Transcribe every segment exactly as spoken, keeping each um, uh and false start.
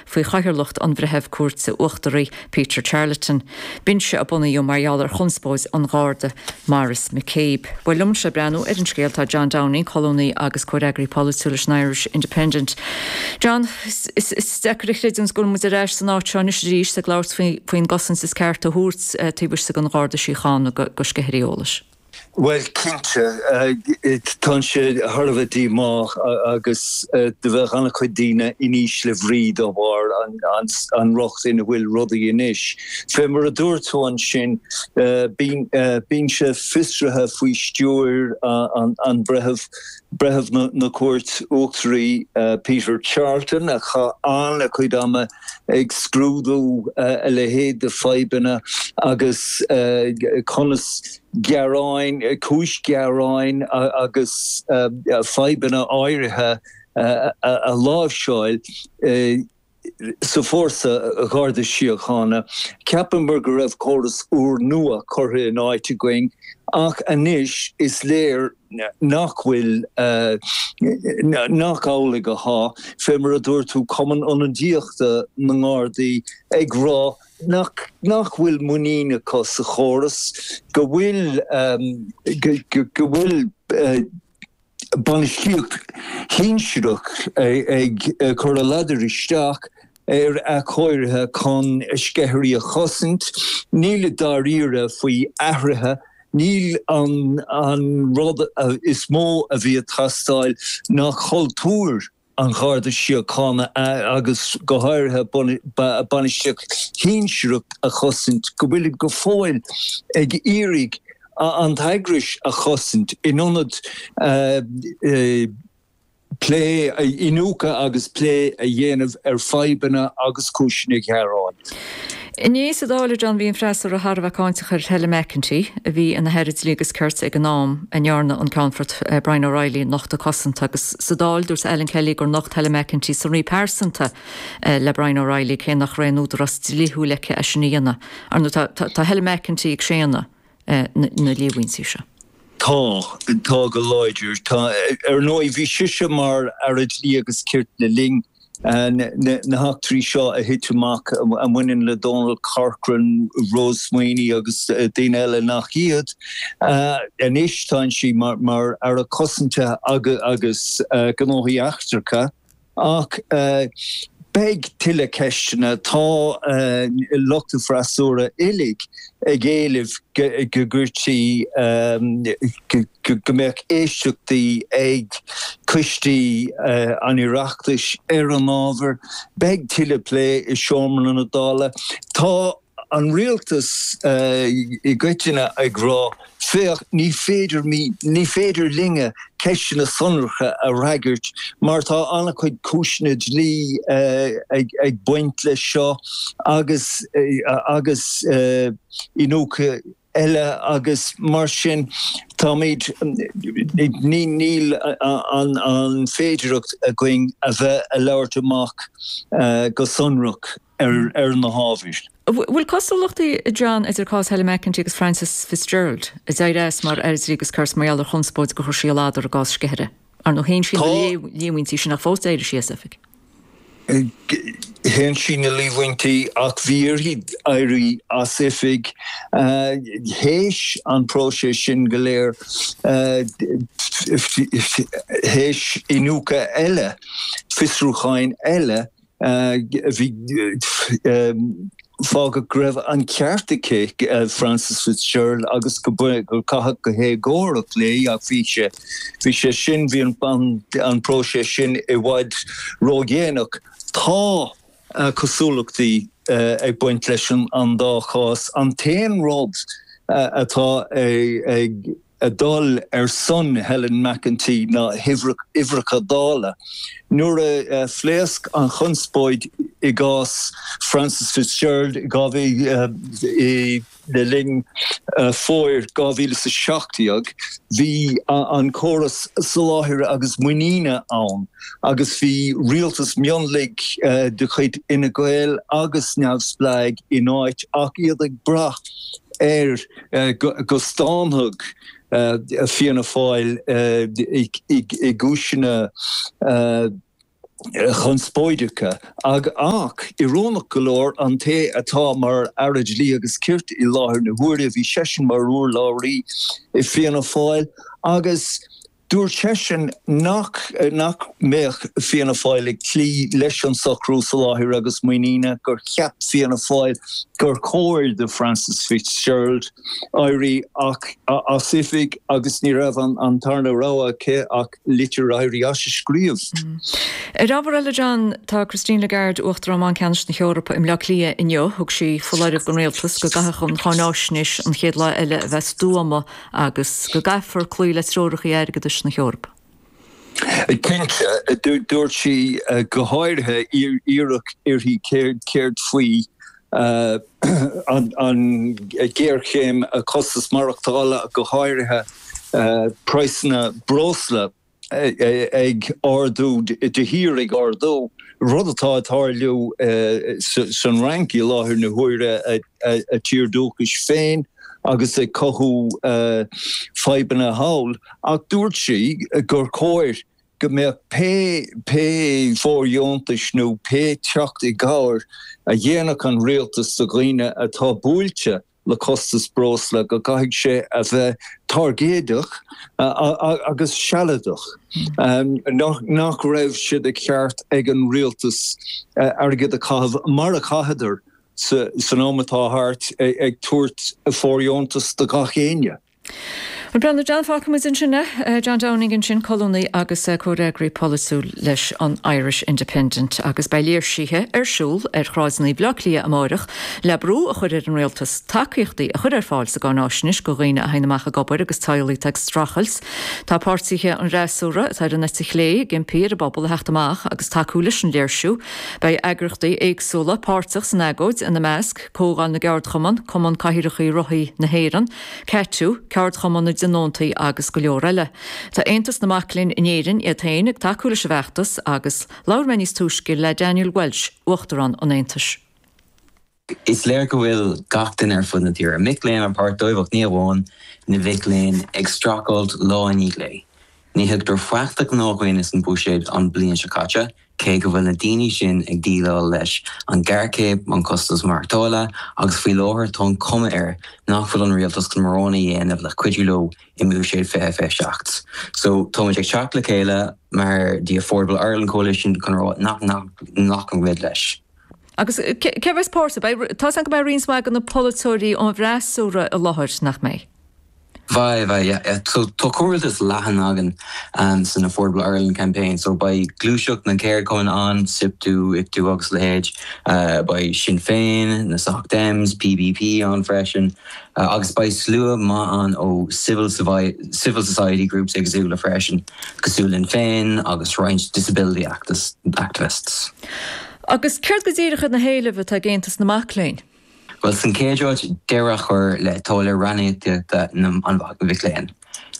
Faoi chathaoirleacht an Bhreithimh Cúirte Uachtaraí Peter Charleton. Binse a bunaíodh mar gheall ar chonspóid an Gharda Maurice McCabe. Well liomsa le breathnú ar an scéal tá John Downing, colúnaí agus comhfhreagraí polaitiúil leis an Irish Independent. John is deacair a chreidiúint go bhfuil muid ar ais san áit seo anois arís ag labhairt faoin gcosaint is ceart a thabhairt eh, taobh istigh den Gharda Síochána do sceithirí eolais. Well cinnte tá sé thar a bheith díomách agus do bheith an-chuid daoine in ísle brí dá bharr an riocht ina bhfuil rudaí anois. Fé mar a dúirt tú ansin binse fiosraithe faoi stiúir an breitheamh breitheamh na Cúirte Uachtaraí Peter Charleton a chaith an-chuid ama ag scrúdú a leithéid de fadhbanna agus conas gearáin cúis gearáin agus fadhbanna áirithe a láimhseáil sa fórsa Gharda Síochána. Cheapamar go raibh córas úrnua curtha in áit againn ach anois is léir nach bhfuil nach amhlaidh atá fé mar a dúirt tú Cumann Ionadaíochta na nGardaí ag rá nach nach bhfuil muinín acu sa chóras go bhfuil go bhfuil bainistíocht shinsearach ag cur a ladar isteach ar athchóirithe chun sceithirí a chosaint, níl i dáiríre faoi athruithe, níl an an rud is mó a bhí ag teastáil ná cultúr an Gharda Síochána agus go háirithe bainistíocht shinsearach a chosaint, go bhfuil go fóill ag iarraidh an t-eagras a chosaint in ionad plé iniúchadh agus plé a dhéanamh ar fadhbanna agus cúiseanna gearáin. Inné sa Dáil John bhí an freasúra thar a bheith cáinteach ar Helen McEntee a bhí ina hAire Dlí agus Cirt ag an am a ndearna an Ceannfort Brian O'Reilly nochtadh cosanta agus sa Dáil dúirt Alan Kelly gur nocht Helen McEntee sonraí pearsanta le Brian O'Reilly cé nach raibh aon údarás dlíthiúil aici é sin a dhéanamh. Ar tá Helen McEntee ag séanadh na líomhaintí seo. Tá tá go láidir Tá ar ndóigh bhí sise mar Aire Dlí agus Cirt le linn na heachtraí seo a thit amach a bhaineann le Donal Corcoran, Rose Sweeney agus daoine eile nach iad. Anois tá sí mar mar Aire Cosanta agus agus gnóthaí eachtracha ach beidh tuilleadh ceisteanna tá lucht an freasúra uilig ag éileamh go gcuirtí go mbeadh éisteachtaí ag coistí an Oireachtais ar an ábhar, beidh tuilleadh plé i seomra na Dála. Tá an rialtas i gcoitinne ag rá féach ní féidir ní féidir linne ceisteanna sonracha a fhreagairt mar tá an-chuid cúiseanna dlí ag ag baint leis seo agus agus iniúchadh eile agus mar sin táimid ní níl an an féidireacht againn a bheith ag labhairt amach go sonrach ar ar na hábhair. Bhfuil cosúlachtaí John idir cás Helen McEntee agus Frances Fitzgerald a d'éirigh as mar Aire Dlí agus Cirt mar gheall ar chonspóid gur chuir sí a ladar i gcás sceithire. Ar ndóigh shéan sí líomhaintí sin ach fós d'éirigh sí as oifig. Shéan sí na líomhaintí ach bhí uirthi éirí as oifig théis an próiseas sin go léir théis iniúchadh eile, fiosrúcháin eile bhí fágadh go raibh an ceart aici Frances Fitzgerald agus go gur caitheadh go héagórach léi ach bhí sé bhí sé sin bhí an an próiseas sin i bhfad ródhéanach. Tá cosúlachtaí ag baint leis an an dá chás. An t-aon rud atá ag ag dul ar son Helen McEntee ná huimhreacha Dála. Nuair a phléasc an chonspóid i gcás Frances Fitzgerald i le linn fómhair dhá mhíle is a seacht déag, bhí an córas soláthair agus muiníne ann agus bhí rialtas mionlaigh de chuid Fhine Gael agus Neamhspleáigh in áit ach iad ag brath ar go stánfadh Fianna Fáil i gcúiseanna chonspóideacha ag ach íorónach go leor an té atá mar Aire Dlí agus Cirt i láthair na huaire bhí seisean mar urlabhraí i Fianna Fáil agus dúirt seisean nach nach mbeadh Fianna Fáil ag cloí leis an socrú soláthair agus muiníne gur cheap Fianna Fáil gur chóir do Frances Fitzgerald éirí ach as oifig agus ní raibh an an tarna rogha aici ach litir éirí as a scríobh. Mm. Ar ábhar eile John tá Christine Lagarde Uachtarán Bhanc Ceannais na hEorpa i mBleá Cliath inniu thug sí foláireamh don rialtas go gcaithfidh an cháináisnéis an chéad lá eile a bheith stuama agus go gcaithfear cloí le treoracha airgeadais na hEorpa. Cinnte dúirt sí go háirithe iarradh uirthi céard faoi an ghéarchéim costas maireachtála go háirithe praghsanna breosla ag ardú de shíor ag ardú rud atá ag tarlú san Fhrainc i láthair na huaire a tír dúchais féin agus ag cothú fadhbanna thall ach dúirt sí gur chóir go mbeadh pé pé fóirdheontais nó pé teacht i gcabhair a dhéanfadh an rialtas do dhaoine atá buailte le costas breosla go gcaithfidh sé a bheith targéadach agus sealadach. Nach raibh sé de cheart ag an rialtas airgead a chaitheamh mar a chaitheadar san am atá thart ag tabhairt fóirdheontas do gach éinne. Bhuel Breandán John fágfaidh muid ansin é. John Downing ansin colúnaí agus comhfhreagraí polaitiúil leis an Irish Independent agus beidh léirsithe ar siúl ar shráideanna Bhaile Átha Cliath amárach le brú a chur ar an rialtas tacaíochtaí a chur ar fáil sa gcáináisnéis do dhaoine a théann amach ag obair agus teaghlaigh atá ag streachailt. Tá páirtithe an fhreasúra atá ar an eite chlé ag impí ar an bpobal a theacht amach agus tacú leis an léirsiú. Beidh eagraíochtaí éagsúla páirteach san agóid ina measc Comhdháil na gCeardchumann, Cumann Cathaoireacha Rothaí na hÉireann, CATU, Ceardchumann na dTionóntaí agus go leor eile. Tá Aontas na Mac Léinn in Éirinn iad féin ag tacú leis an bhfeachtas agus labhair mé níos túisce le Daniel Walsh, Uachtarán an Aontais. Is léir go bhfuil gach duine ar fud na tíre, mic léinn an páirt dóibh ach ní amháin na mic léinn ag streachailt lá i ndiaidh lae. Ní thugtar faic do ghnáthdhaoine san bhuiséad an bliain seo caite, cé go bhfuil na daoine sin ag déileáil leis an ghéarchéim, an costas maireachtála agus faoi láthair tá an cuma air nach bhfuil an rialtas chun mórán a dhéanamh le cuidiú leo i mBuiséad fiche fiche seacht. So táimid ag teacht le chéile mar The Affordable Ireland Coalition chun rá nach nglacann muid leis. Agus cé a bheas páirteach? Beidh, tá a fhios agam go mbeidh roinnt mhaith de na polaiteoirí ón bhfreasúra i láthair, nach mbeidh? Beidh, beidh, yeah, yeah. So tá comhrialtas leathan againn um, san Affordable Ireland campaign, so beidh gluaiseacht na gceardchumann ann, SIPTU, ICTU agus leithéid, uh, beidh Sinn Féin, na Soc Dems, PBP ann freisin, uh, agus beidh slua maith ann ó civil, civil society groups éagsúla freisin, cosúil linn féin agus roinnt disability activists. Agus céard go díreach iad na héilimh atá ag Aontas na Mac Léinn? Bhuel, san chéad áit deireadh a chur le táille ranníocaíochta na mhic léinn.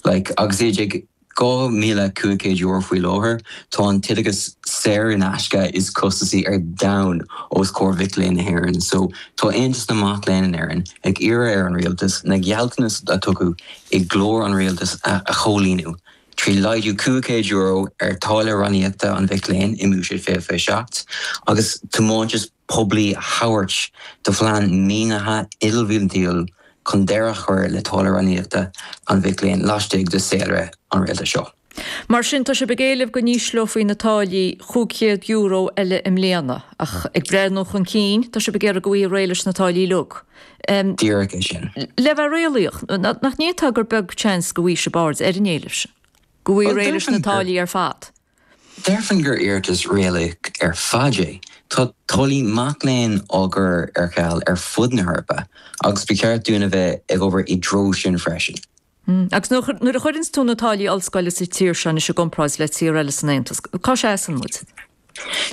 Like, agus iad ag dhá míle cúig chéad euro faoi láthair, tá an t-oideachas saor in aisce is costasaí ar domhan os comhair mhic léinn na hÉireann. So tá Aontas na Mac Léinn in Éirinn ag iarraidh ar an rialtas na gealltanais a tugadh i gclár an rialtais a chomhlíonadh trí laghdú cúig chéad euro ar táille ranníocaíochta an mhic léinn i mBuiséad fiche fiche seacht agus tiomantas poiblí a thabhairt do phlean maoinithe ilbhliantúil chun deireadh a chur le táille ranníocaíochta an mhic léinn laistigh de saolré an rialtais seo. Mar sin, tá sibh ag éileamh go n-ísleofaí na táillí chúig chéad euro eile i mbliana, ach ag breathnú chun cinn, tá sibh ag iarraidh go bhfaighfí réidh leis na táillí uilig. Díreach é sin. Le bheith réalaíoch, nach ndéarfá gur beag seans go bhfaighidh sibh aird ar an éileamh sin? Go bhfaighfí réidh leis na táillí ar fad? Déarfainn gur iarratas réalaíoch ar fad é. Tá táillí mac léinn á gcur ar ceal ar fud na hEorpa agus ba cheart dúinn a bheith ag obair i dtreo sin freisin. Agus nuair a chuireanns tú na táillí ollscoile sa tír seo anois i gcomparáid le tír eile san Aontas, cá seasann muid?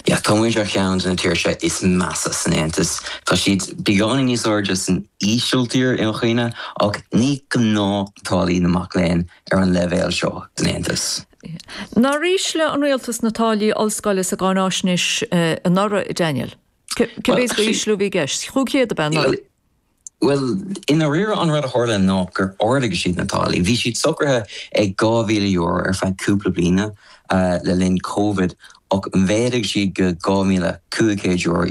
Yeah, tá muid ar cheann de na tíortha is measa san Aontas. Tá siad beagáinín níos airde san Ísiltír i mo chuimhne, ach ní gnách táillí na mac léinn ar an leibhéal seo san Aontas. Nár ísligh an rialtas na táillí ollscoile sa gcáináisnéis anuraidh, Daniel? Cé mhéad d'ísliú a bhí i gceist? Chúig chéad ab ea anuraidh? Well, i ndáiríre an rud a tharla ná gur ardaigh siad na táillí. Bhí siad socraithe ag dhá mhíle euro ar feadh cúpla bliana uh, le linn COVID ach mhéadaigh siad go dhá mhíle cúig chéad euro